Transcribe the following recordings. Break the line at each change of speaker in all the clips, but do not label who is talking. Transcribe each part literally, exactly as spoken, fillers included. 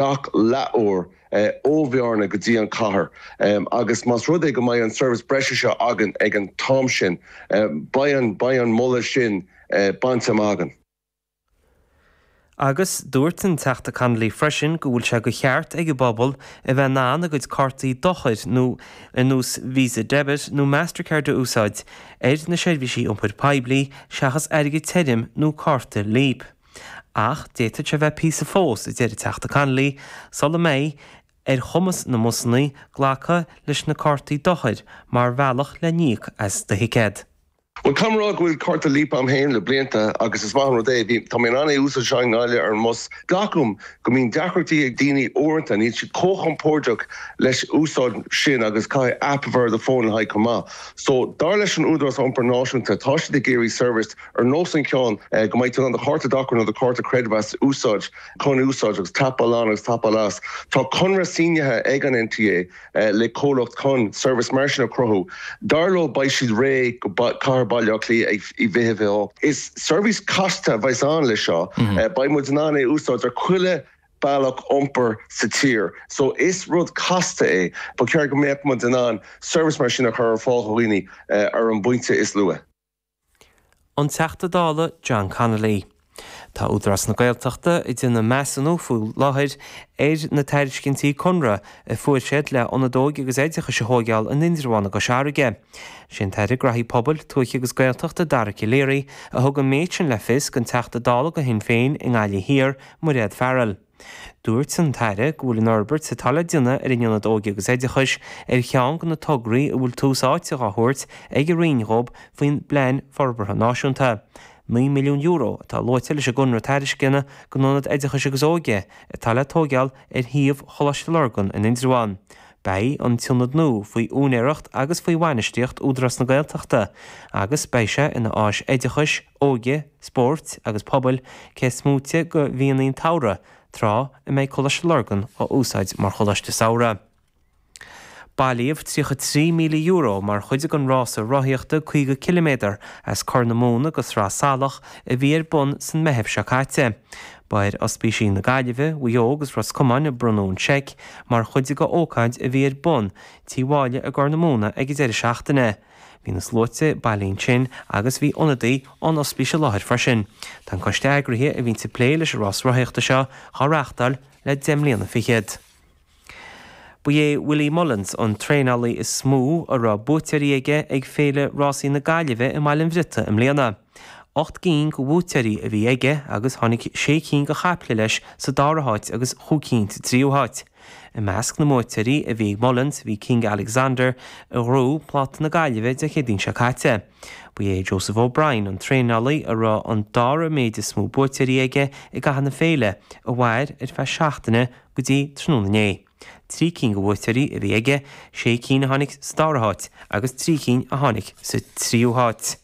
gach leathuair ó Bhearna go dtí an cathair agus más rud é go mbeidh an service breise seo againn ag an t-am sin beidh an beidh an moladh sin bainte amach againn.
Agus dúirt an Teachta Connolly freisin go bhfuil sé go cheart ag an bpobal a bheith in ann a gcuid cártaí dochair nó ar nós Visa Debit nó Mastercard a úsáid ar na seirbhísí iompair poiblí seachas airgead tirim nó cárta Leap. Ach d'fhéadfadh sé bheith píosa fós a deir an Teachta Connolly sula mbeidh ar chumas na mbusanna glacadh leis na cártaí dochair mar bhealach le n-íoc as do thicéad.
Well caithfidh mé a rá go bhfuil cárta Leap agam féin le blianta agus is maith an rud é tá mé in ann é a úsáid i nGaillimh ar an mbus. Glacaim go mbíonn deacrachtaí ag daoine uaireanta níl siad chomh compordach leis úsáid sin agus caithfidh app a bheith ar do fón le haghaidh chomh maith. So dar leis an Údarás Iompair Náisiúnta tá siad ag iarraidh service ar nós an ceann go mbeidh tú an do chárta dochair nó do chárta creidmheasa úsáid chun úsáid agus tapáil ann agus tapáil as. Tá conradh sínithe ag an NTA le comhlacht chun service mar sin a chruthú. Dar leo beidh siad réidh go cathair Baile Átha Cliath ag i bhfiche fiche. Is service casta a bheas ann le seo, beidh muid in ann é úsáid ar chuile bealach iompair sa tír. So is rud casta é, ba cheart go mbeadh muid in ann service mar sin a chur ar fáil do dhaoine ar an bpointe is luaithe.
An Teachta Dála John Connolly. Tá Údarás na Gaeltachta ag déanamh measúnú faoi láthair ar na tairiscintí conradh a fuair siad le ionad óige agus oideachais a thógáil in Indreabhán i gCois Fharraige. Sin tAire Gnóthaí Pobail, Tuaithe agus Gaeltachta Dara Calleary a thug an méid sin le fios don Teachta Dála do Shinn Féin i nGaillimh Thiar, Mairéad Farrell. Dúirt an tAire go bhfuil an fhorbairt atá le déanamh ar an ionad óige agus oideachais ar cheann de na tograí a bhfuil tús áite á thabhairt ag an Roinn dhóibh faoin bPlean Forbartha Náisiúnta. naoi milliún euro atá luaite leis an gconradh tairisceana don ionad oideachais agus óige atá le tógáil ar shuíomh Choláiste Lurgan in Indreabhán. Beidh an t-ionad nua faoi úinéireacht agus faoi bhainistíocht Údarás na Gaeltachta agus beidh sé ina áis oideachais, óige, spóirt agus pobail cé is móite de mhíonna an tsamhraidh, tráth a mbeidh Coláiste Lurgan á úsáid mar choláiste samhraidh. Bailíodh tríocha trí míle euro mar chuid den rása rothaíochta caoga ciliméadar as Corr na Móna go Sraith Salach a bhí ar bun san Meitheamh seo caite. Ba ar Ospísí na Gaillimhe, Mhaigh Eo agus Ros Comáin a bronnadh an seic mar chuid de ócáid a bhí ar bun Tí Mháille i gCorr na Móna ag an deireadh seachtaine. Bhí na sluaite bailithe ansin agus bhí ionadaí ón ospís i láthair freisin. Tá an coiste eagraithe a bhíonn ag plé leis an rás rothaíochta seo á reáchtáil le deich mbliana fichead. Ba é Willie Mullins an traenálaí is mó a raibh buaiteoirí aige ag Féile Rásaí na Gaillimhe i mBaile an Bhriotaigh i mbliana. Ocht gcinn de bhuaiteoirí a bhí aige agus tháinig sé cinn de chaiple leis sa dara háit agus chúig cinn sa tríú háit. I measc na mbuaiteoirí a bhí ag Mullins bhí King Alexander a ghnóthaigh Pláta na Gaillimhe Dé Céadaoin seo caite. Ba é Joseph O'Brien an traenálaí a raibh an dara méid is mó buaiteoirí aige i gcaitheamh na féile a mhair ar feadh seachtaine go dtí tráthnóna inné. Trí cinn de bhuaiteoirí a bhí aige, sé cinn a tháinig sa dara háit agus trí cinn a tháinig sa tríú háit.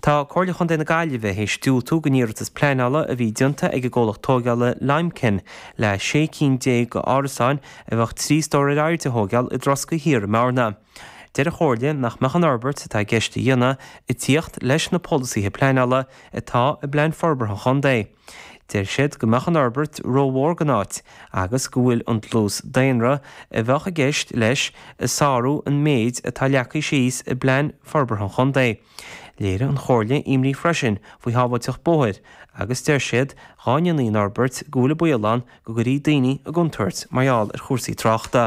Tá Comhairle Chontae na Gaillimhe théis diúltú don iarratas pleanála a bhí déanta ag an gcomhlacht tógála Limekiln le sé cinn déag d'árasáin a bheadh trí stór ar airde a thógáil i dTroscaí Thiar i mBearna. Deir an Chomhairle nach mbeadh an fhorbairt atá i gceist a dhéanamh ag tíocht leis na polasaithe pleanála atá i bPlean Forbartha an Chontae. Deir siad go mbeadh an fhorbairt rómhór don áit agus go bhfuil an dlús daonra a bheadh i gceist leis ag sárú an méid atá leagtha síos i bPlean Forbartha an Chontae. Léirigh an Chomhairle imní freisin faoi shábháilteacht bóthair agus deir siad dá ndéanfaí an fhorbairt go bhfuil an baol ann go gcuirfí daoine i gcontúirt mar gheall ar chúrsaí tráchta.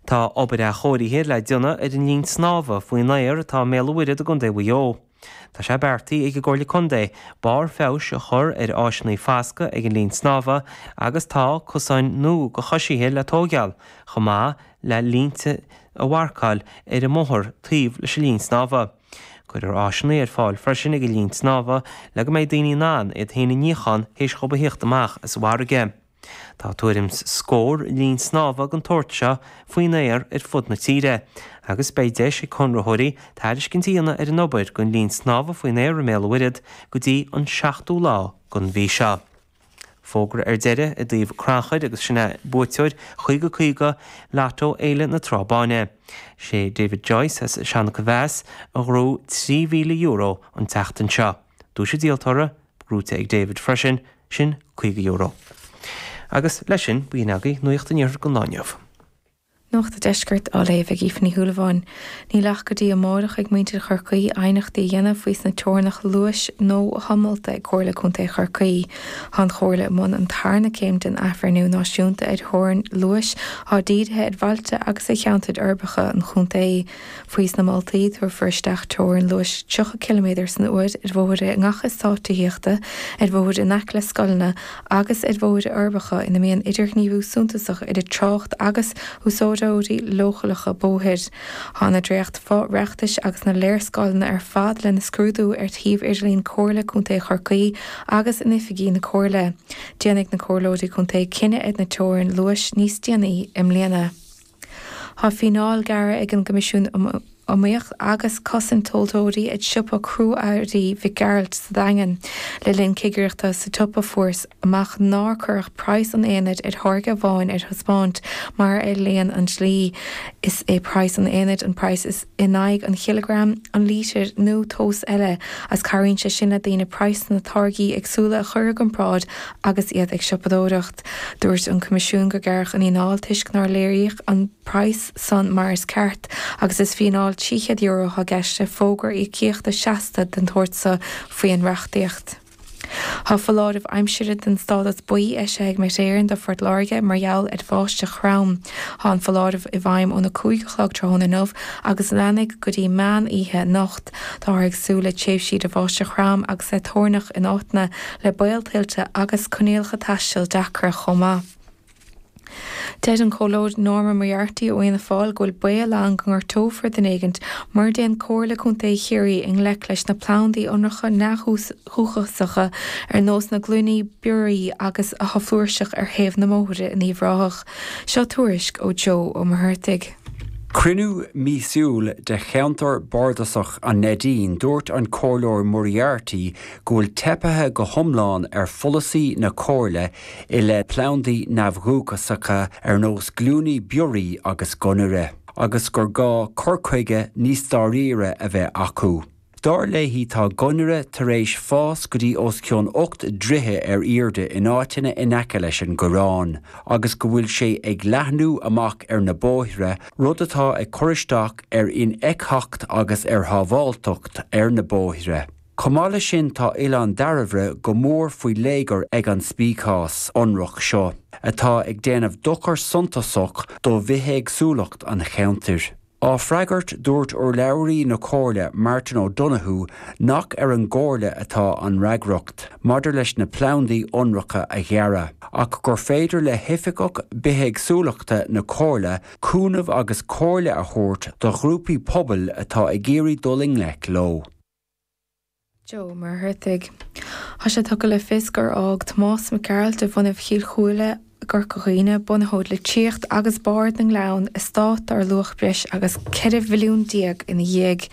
Tá obair athchóirithe le déanamh ar an linn snámha faoin aer atá i mBéal an Mhuirthead i gContae Mhaigh Eo. Tá sé beartaithe ag an gComhairle Contae barr feabhais a chur ar áiseanna foscaidh ag an linn snámha agus tá cosáin nua do choisithe le tógáil, chomh maith le línte a mharcáil ar an mbóthar taobh leis an linn snámha. Cuirfear áiseanna ar fáil freisin ag an linn snámha le go mbeidh daoine in ann iad féin a níochán théis dhóibh a thíocht amach as an bhfarraige. Tá tuairim 's scór linn snámha den tsórt seo faoin aer ar fud na tíre, agus beidh deis ag conraitheoirí tairiscint a dhéanamh ar an obair don linn snámha faoin aer i mBéal an Mhuirthead go dtí an seachtú lá den mhí seo. Fógra ar deireadh i dtaobh crannchuir agus sin é buaiteoir chaoga caoga Lotto Fhéile na Trá Báine. Sé David Joyce as Seancha Mheas a ghnóthaigh trí mhíle euro an tseachtain seo. Duais an díoltóra, gnóthaithe ag David freisin, sin caoga euro. Agus leis sin b'in agaibh Nuacht an Iarthair don lá inniu.
Nuacht an Deiscirt á léamh ag Aoife Ní Shúilleabháin. Níl ach go dtí amárach ag muintir Chorcaí aighneachtaí a dhéanamh faoi sna teorainneacha luais nua molta ag Comhairle Contae Chorcaí. Tá an Chomhairle i mbun an tarna céim den athbhreithniú náisiúnta ar theorainn luais atá dírithe ar bhailte agus ar cheantair uirbeacha an chontae. Faoi sna moltaí tabharfar isteach teorainn luais tríocha ciliméadar san uair ar bhóithre i ngach eastát tithíochta, ar bhóithre in aice le scoileanna agus ar bhóithre uirbeacha ina mbíonn idirghníomhú suntasach idir trácht agus úsáideoirí leochaileacha bóthair. Tá na dréacht fo-reachtais agus na léarscáileanna ar fad lena scrúdú ar shuíomh idirlín Comhairle Contae Chorcaí agus in oifigí na Comhairle. Déanfaidh na comhairleoirí contae cinneadh ar na teorainn luais níos déanaí i mbliana. Tá fíneáil gearrtha ag an gCoimisiún um Iomaíocht agus Cosaint Tomhaltóirí ar siopa crua-earraí Mhic Gearailt sa Daingean. Le linn cigireachta sa tsiopa fuarthas amach nár cuireadh praghas an aonaid ar tháirge amháin ar taispeáint mar a éilíonn an dlí. Is é praghas an aonaid an praghas is in aghaidh an chileagram, an lítir nó tomhas eile, as cabhraíonn sé sin le daoine praghas na táirgí éagsúla a chur i gcomparáid agus iad ag siopadóireacht. Dúirt an Coimisiún gur gearradh an fhíneáil toisc nár léiríodh an praghas san mar is ceart agus is fíneáil trí chéad euro atá i gceist le fógra íocaíochta seasta den tsórt seo faoin reachtaíocht. Tá foláireamh aimsire den stádas buí eisithe ag Met Éireann do Phort Láirge mar gheall ar bháisteach throm. Tá an foláireamh i bhfeidhm óna cúig a chlog tráthnóna inniu agus leanfaidh go dtí meán oíche anocht. Táthar ag súil le tréimhsí de bháisteach throm agus le toirneach in áiteanna le baol tuilte agus coinníollacha taistil deacra chomh maith. Deir an Comhairleoir Norma Moriarty ó Fhianna Fáil go bhfuil baol ann go ngortófar duine éigin mura dtéann Comhairle Contae Chiarraí i ngleic leis na plandaí ionracha neamhdhúchasacha ar nós na glúiní bioraí agus atá flúirseach ar thaobh na mbóithre in Uíbh Ráthach. Seo tuairisc ó Joe Ó Muircheartaigh.
Cruinniú míosúil de cheantar bardasach an Neidín dúirt an Comhairleoir Moriarty go bhfuil teipthe go hiomlán ar pholasaí na comhairle i leith plandaí neamhdhúchasacha ar nós glúiní bioraí agus gunnaire, agus gur gá cur chuige níos dáiríre a bheith acu. Dar léi tá gunnaire tar éis fás go dtí os cionn ocht dtroithe ar airde in áiteanna in aice leis an gCoireán, agus go bhfuil sé ag leathnú amach ar na bóithre, rud atá ag cur isteach ar infheictheacht agus ar shábháilteacht ar na bóithre. Chomh maith leis sin tá Oileán Dairbhre go mór faoi léigear ag an speiceas ionrach seo, atá ag déanamh dochar suntasach do bhithéagsúlacht an cheantair. Á freagairt dúirt urlabhraí na Comhairle Martin O'Donoghue nach ar an gcomhairle atá an fhreagracht, maidir leis na plandaí ionracha a ghearradh, ach gur féidir le hoifigeach bithéagsúlachta na Comhairle cúnamh agus comhairle a thabhairt do ghrúpaí pobail atá ag iarraidh dul i ngleic leo.
Joe Ó Muircheartaigh. Tá sé tugtha le fios gur fhág Tomás Mac Gearailt de bhunadh Chill Chúile gCorca Dhuibhne, bunaitheoir Litríocht agus Bard na nGleann, eastát dar luach breis agus ceithre mhilliún déag ina dhiaidh.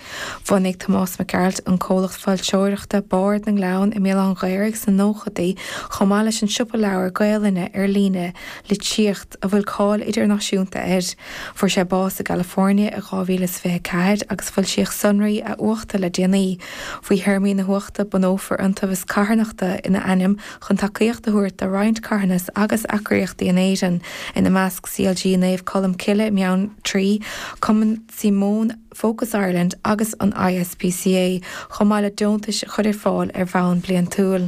Bhunaigh Tomás Mac Gearailt an comhlacht foilsitheoireachta Bard na nGleann i mBéal Átha an Ghaorthaidh sna nóchaidí chomh maith leis an siopa leabhar Gaelainne ar líne Litríocht a bhfuil cáil idirnáisiúnta air. Fuair sé bás i gCalifornia i dhá mhíle is fiche ceathair agus foilsíodh sonraí a uachta le déanaí. Faoi théarmaí na huachta bunófar iontaobhas carthanachta ina ainm chun tacaíocht a thabhairt do roinnt carthanas agus eagraíochtaí in Éirinn, ina measc C L G Naomh Colm Cille i mBeanntraí, Cumann Simone Focus Ireland agus an I S P C A, chomh maith le deontais a chur ar fáil ar bhonn bliantúil.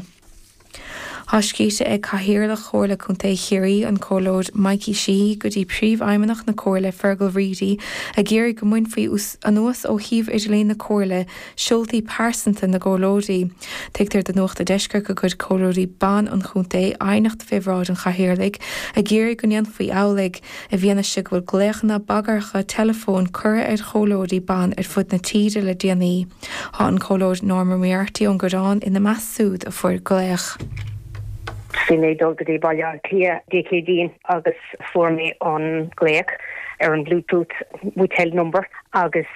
Tá scríte ag Cathaoirleach Chomhairle Contae Chiarraí an Comhairleoir Mikey Sheehy go dtí príomhfheidhmeannach na Comhairle Fergal Reidy ag iarraidh go mbainfí anuas ó shuíomh idirlín na Comhairle seoltaí pearsanta na gcomhairleoirí. Tuigtear do Nuacht an Deiscirt gur chuir comhairleoirí ban an chontae aighneacht faoi bhráid an chathaoirligh ag iarraidh go ndéanfaí amhlaidh, i bhfianaise go bhfuil glaochanna bagartha teileafóin curtha ar chomhairleoirí ban ar fud na tíre le déanaí. Tá an Comhairleoir Norma Moriarty ón gCoireán ina measc siúd a fuair glaoch.
Bhí mé dul go dtí Baile Átha Cliath Dé Céadaoin agus fuair mé an glaoch ar an Bluetooth motel number agus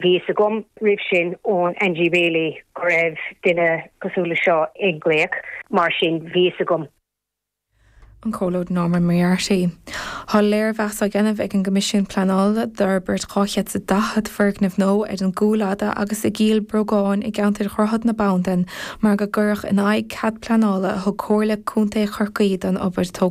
bhí a fhios agam roimh sin ón Angie Bailey go raibh duine cosúil le seo ag glaoch mar sin bhí a fhios agam.
An Comhairleoir Norma Moriarty. Tá léirmheas á dhéanamh ag an gCoimisiún Pleanála d'fhorbairt dhá chéad is daichead foirgneamh nua ar an gCúil Fhada agus i gCill Bhrógáin i gceantar Dhroichead na Bandan mar go gcuireadh in aghaidh cead pleanála a thug Comhairle Contae Chorcaí don obair tógála.